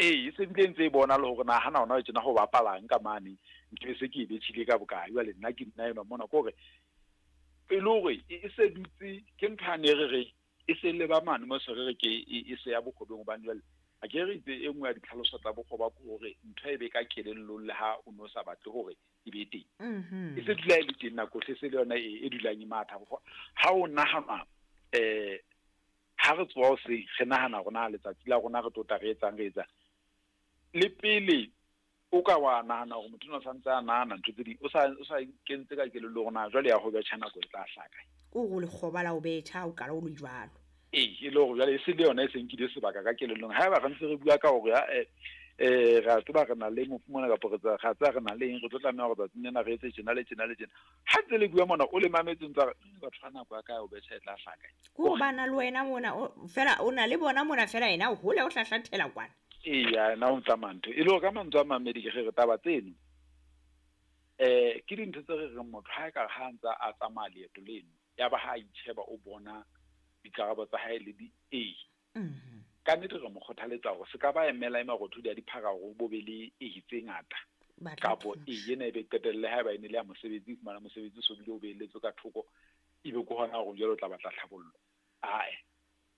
Ee, e se bile ntse e bona le hore na hana hona tjena ho bapalang ka mane, nke se ke e betjhile ka bokae. Jwale nna ke nna enwa mona, ke hore e le hore e se dutse ke ntho yane re re e se leba mane mo se re re ke e se ya bokgobeng. Hobane jwale a ke re itse e nngwe ya ditlhaloso tsa bokgoba ke hore ntho e be ka kelellong le ha o no sa batle hore e be teng. E se dula e le teng nako hle, se le yona e dulang e matha. Ha o nahana ha re tsoha hoseng re nahana hore na letsatsi la rona re tlo tla re etsang re etsang, le pele o ka wa nahana hore motho o santse a nahana ntho tse ding, o sa kentse ka kelello hore na jwale ya ho betjha nako e tla hlaka. Ko go lekgoba la ho betjha o qala o le jwalo. Ee, e le hore jwale e se le yona e se nkile sebaka ka kelellong. Haeba re ntse re bua ka hore re a tseba re na le mofu mona, kapa re tseba re na le eng, re tlo tlameha hore tsatsing lena re etse tjena le tjena le tjena. Ha ntse le bua mona o le mametse ntse re batho ba nako ya ka ya ho betjha e tla hlaka. Ko bana le wena mona fela o na le bona mona fela yena o hole o hlahlathela kwana. Eya, yena o tsamaya ntho. E le hore ka mantswe a mamedi ke re taba tseno ke dintho tse re reng motho ha e ka ha ntse a tsamaya leeto leno, ya ba ha a itjheba o bona dikarabo tsa hae le di e. Ka nnete re mo kgothaletsa hore se ka ba emela e marothodi a diphara hore bo be le e tse ngata. Kapo e ena e be qetelle haeba e ne le ya mosebetsi, fumana mosebetsi so bile o beelletswe ka thoko, ebe ke hona hore jwale o tla batla tlhabollo. Ae,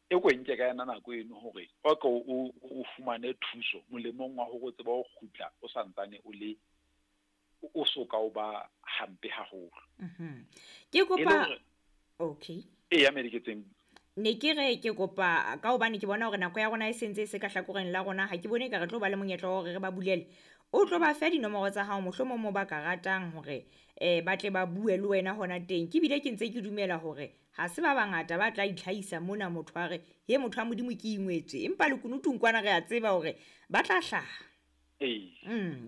e ko nke ka yona nako eno hore o ke o fumane thuso molemong wa hore o tsebe ho kgutla o santsane o le o soka o ba hampe haholo. Ke kopa okay. Eya, mediketseng. Ne ke re ke kopa ka hobane ke bona hore nako ya rona e sentse e se ka hlakoreng la rona, ha ke bone ka re tlo ba le monyetla wa hore re ba bulele. O tlo ba fe dinomoro tsa hao mohlomong mo ba ka ratang hore ba tle ba bue le wena hona teng. Ke bile ke ntse ke dumela hore ha se ba bangata ba tla itlhahisa mona motho a re he motho wa Modimo ke ingwetswe, empa lekunutung kwana re a tseba hore ba tla hlaha.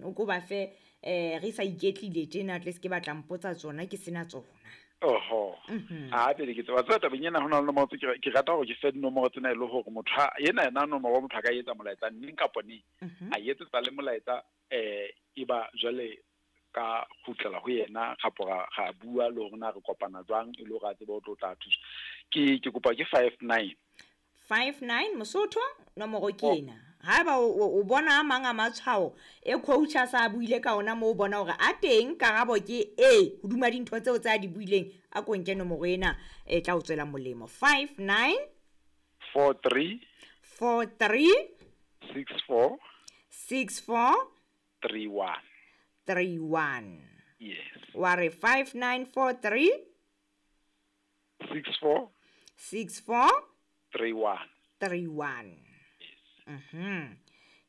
O ko ba fe re sa iketlile tjena tle se ke batla mpotsa tsona ke sena tsona. Oho. A pele ke tseba tseba tabeng ena hona le nomoro tse ke rata hore ke fe dinomoro tsena e le hore motho yena nomoro motho a ka etsa molaetsa neng kapa neng. A etsetsa le molaetsa e ba jwale ka kgutlela ho yena kapo ra bua le hore na re kopana jwang e le hore a tsebe ho tlo tla thusa. Ke kopa ke 59. 59 Mosotho nomoro ke ena. Haeba o bona a mang a matshwao e coach a sa buile ka ona mo o bona hore a teng karabo ke e hoduma dintho tseo tsa di buileng, a ko nke nomoro ena e tla o tswela molemo. 59 43 43 64 64 31 31. Yes. Wa re 5943 64 64 31 31.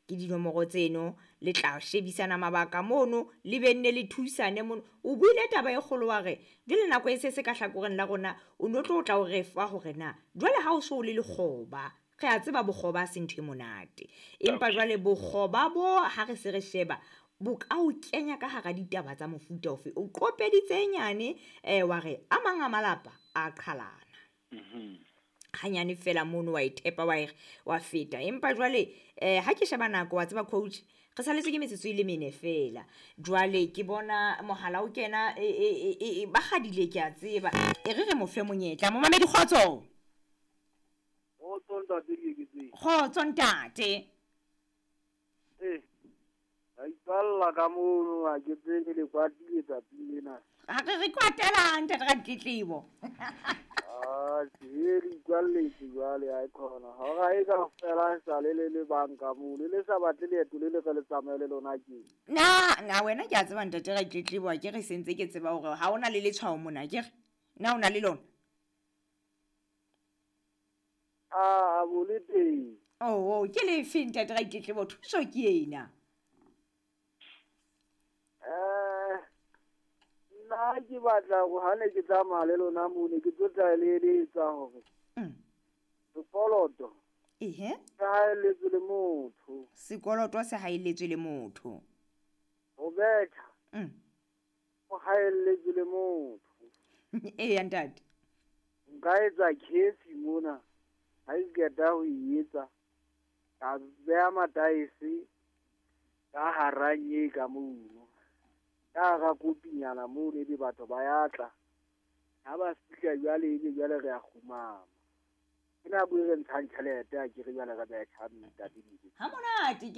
Ke dinomoro tseno le tla shebisana mabaka mono le benne le thusane mono. O buile taba e kgolo wa re jwale nako e se ka hlakoreng la rona o no tlo tla o re fa hore na jwale ha o so le lekgoba, re a tseba bokgoba se ntho e monate, empa jwale bokgoba bo ha re se re sheba bo ka o kenya ka hara ditaba tsa mofuta ofe. O qopeditse nyane wa re a mang a malapa a qhalana. Hanyane fela mono wa ithepa wa feta, empa jwale ha ke sheba nako wa tseba coach re saletse ke metsotso e le mene fela. Jwale ke bona mohala o kena ba kgadile ke a tseba, e re mo fe monyetla. Momamedi kgotso. Kgotso ntate ke tseng. Kgotso ntate. Ra ipalla ka mono ha ke tsebe le kwatile tsatsing lena. Ha re kwatela ntate ra ditletlebo. Ah, ke re ikwalletse jwale ha e khona. Hora e ka fela sa le le banka mono le sa batle leeto le le re le tsamaye le lona ke. Na wena ke a tseba ntate ra ditletlebo, ke re sentse ke tseba hore ha ona le letshwao mona, ke re na o na le lona? Ah, bo le teng. Oh, ke le fe ntate ra ditletlebo, thuso ke ena. Nna ke batla hore ha ne ke tsamaya le lona mone ke tlo tla le eletsa hore sekoloto ehe se haelletswe le motho. Sekoloto se haelletswe le motho. Ho betha o haelletswe le motho. Eya ntate. Nka etsa case mona ha ke qeta ho e etsa ka beha mataese ka hara nye ka mono. Ka hara kopinyana mono ebe batho ba ya tla. Ha ba fihla jwale ebe jwale re a kgumama. Ke nako e re ntshang tjhelete ha ke re jwale re betjha ntate. Ha monate.